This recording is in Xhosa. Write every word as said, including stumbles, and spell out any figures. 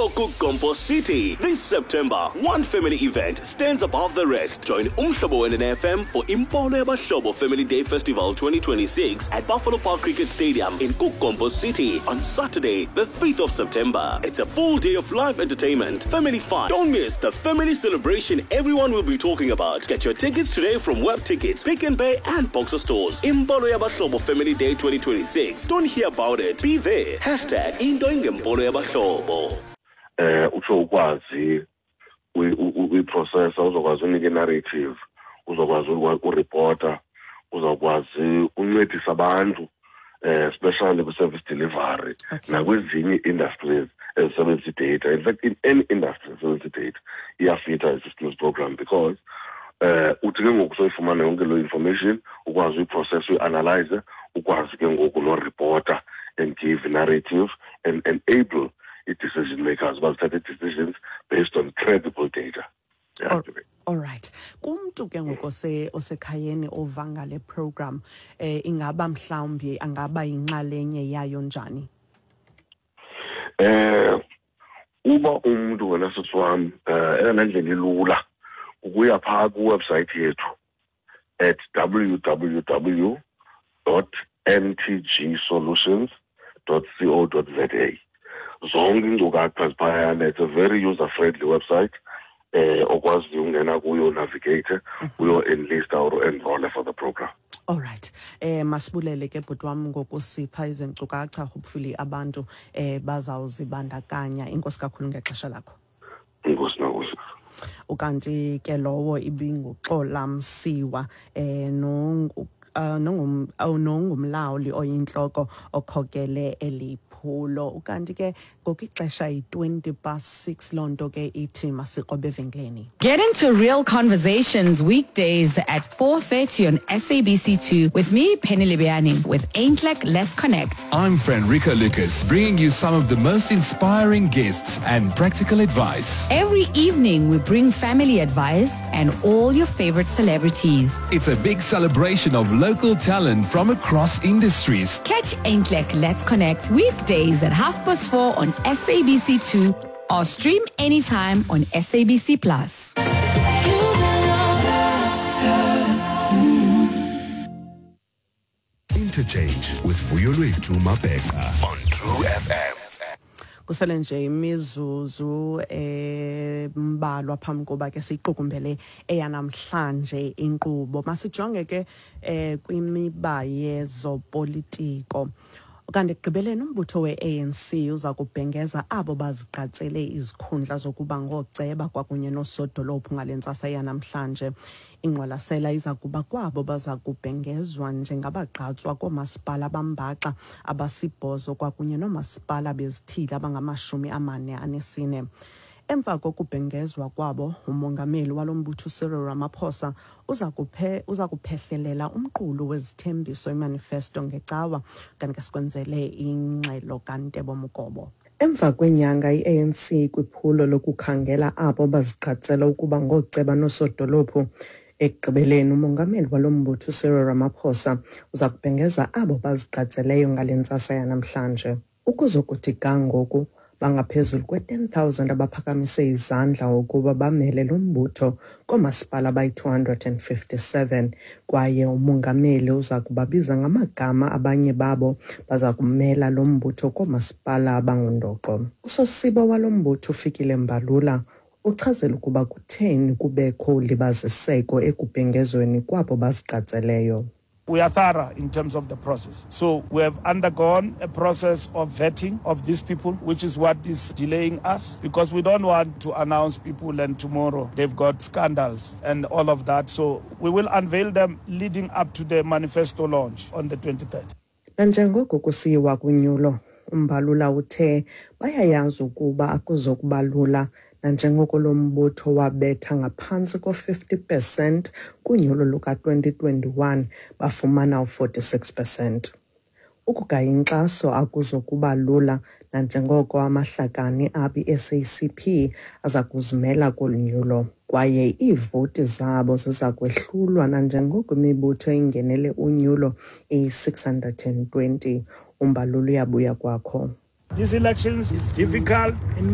KuGompo City. This September, one family event stands above the rest. Join Umhlobo Wenene F M for Impolo Yabahlobo Family Day Festival twenty twenty-six at Buffalo Park Cricket Stadium in KuGompo City on Saturday, the fifth of September. It's a full day of live entertainment, family fun. Don't miss the family celebration everyone will be talking about. Get your tickets today from Web Tickets, Pick n Pay and Boxer Stores. Impolo Yabahlobo Family Day twenty twenty-six. Don't hear about it. Be there. Hashtag Into Ingempolo Yabahlobo. eh utsho ukwazi uyiprocessa, uzokwazi unika i-narrative, uzokwazi ureporta, uzawukwazi uncedisa abantu, eh especially kwi-service delivery nakwezinye ii-industries ezisebenzisa i-data. In fact, in any industry esebenzisa i-data iyafitha i-systems program, because eh uthi ke ngoku soyifumana yonke loo information, ukwazi uyiprocessa, uyi-analyze, ukwazi ke ngoku noreporta and give narrative and enable i-decision makers bazithathe i-decisions based on credible data, yeah. All, all right, kumntu ke ngoku ose osekhayeni ova ngale program, eh ingaba mhlawumbi angaba yinxalenye yayo njani? Eh uba umuntu, wena sisi wami, eh eyona ndlela ilula ukuya phaa kwiwebsite yethu at W W W dot N T G solutions dot co dot za. Zonke iinkcukacha ziphayana. It's a very user friendly website eh okwaziyo ungena kuyo, navigate, uyo-enlista or enroll for the program. All right. Eh masibulele ke, bhuti wam, ngokusipha izinkcukacha. Hopefully abantu eh bazawuzibandakanya. Inkosi kakhulu ngexesha lakho. Inkosi nakuso. Ukanti ke lowo ibinguXola Msiwa, eh no uh, nongum oh, nongumlawuli oyintloko okhokele eliphulo. Ukanti ke ngoku ixesha yi-twenty past six, loo nto ke ithi masikrobe evenkileni. Get into real conversations weekdays at four thirty on S A B C two with me, Penny Libiani, with Aintlek Let's Connect. I'm Frederica Lucas, bringing you some of the most inspiring guests and practical advice. Every evening, we bring family advice and all your favorite celebrities. It's a big celebration of local talent from across industries. Catch Aintlek Let's Connect weekdays at half past four on S A B C two or stream anytime on S A B C Plus. Interchange with Vuyolwethu Mabheka on True F M. Kusele nje imizuzu embalwa phambi koba ke siyiqukumbele eyanamhlanje inkqubo. Masijonge ke eh kwimiba yezopolitiko. Kanti ekugqibeleni, umbutho we-A N C uza kubhengeza abo bazigqatsele izikhundla zokuba ngooceba kwakunye noosodolophu ngale ntsasa yanamhlanje. Ingqwalasela iza kuba kwabo baza kubhengezwa njengabagqatswa koomasipala bambaxa abasibhozo kwakunye noomasipala bezithili abangamashumi amane anesine. Emva kokubhengezwa kwabo, umongameli walo mbutho uCyril Ramaphosa uza kuphe uza kuphehlelela umqulu wezithembiso, imanifesto, ngecawa. Kanti ke sikwenzele ingxelo kaNtebo Mukobo. Emva kwenyanga i-A N C kwiphulo lokukhangela abo bazigqatsela ukuba ngooceba noosodolophu, ekugqibeleni umongameli walo mbutho uCyril Ramaphosa uza kubhengeza abo bazigqatseleyo ngale ntsasa yanamhlanje. Ukuzokuthi ga ngoku, bangaphezulu kwe-ten thousand abaphakamise izandla ukuba bamele lo mbutho koomasipala abayi-two hundred and fifty-seven, kwaye umongameli uza kubabiza ngamagama abanye babo baza kumela lo mbutho koomasipala abangundoqo. Usosiba walo mbutho uFikile Mbalula uchazela ukuba kutheni kubekho ulibaziseko ekubhengezweni kwabo bazigqatseleyo. We are thorough in terms of the process. So we have undergone a process of vetting of these people, which is what is delaying us, because we don't want to announce people and tomorrow they've got scandals and all of that. So we will unveil them leading up to the manifesto launch on the twenty-third. Nanjengoko kusiyiwa kunyulo, uMbalula uthe bayayazi ukuba akuzokuba lula, nanjengoko lo mbutho wabetha ngaphantsi ko-fifty percent kunyulo luka-twenty twenty-one, bafumana u-forty-six percent. Ukugaya inkxaso akuzokuba lula, nanjengoko amahlakani abi-S A C P aza kuzimela kolu nyulo, kwaye iivoti zabo ziza kwehlulwa nanjengoko imibutho ingenele unyulo iyi-six hundred and twenty. UMbalula uyabuya kwakho. These elections is difficult in